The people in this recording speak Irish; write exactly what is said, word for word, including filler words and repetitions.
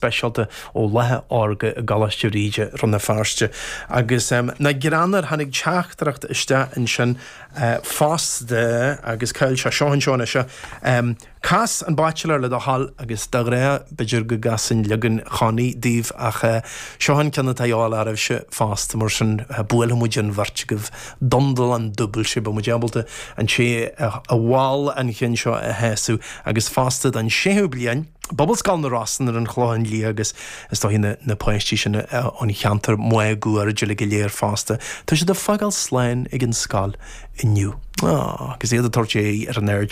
speisialta ó Laetha Órga i gColáiste Bhríde Rann na Feirste agus um, na greanar tháinig teachtaireacht isteach ansin uh, fosta agus cáil se seo seo seo. Um, Cas an Bachelor le do thoil agus de ghnáth b'fhéidir go gcasann leagan Chonnie daoibh ach uh, seo an ceann atá oraibhse fosta mar sin uh, buailfidh muid an bheirt agaibh dundal an dúbailte ba muid ábalta an sé a bhil an chinn seo a shásamh agus fosta an séú bliain. Pobalscoil na Rosann ar an Chlochán Liath agus is dóigh na, na páistí sin an cheantar máguaird le go léir fosta. Tá siad ag fágáil slán ag an scoil inniu. Ah, agus iad ag tabhairt ar an aird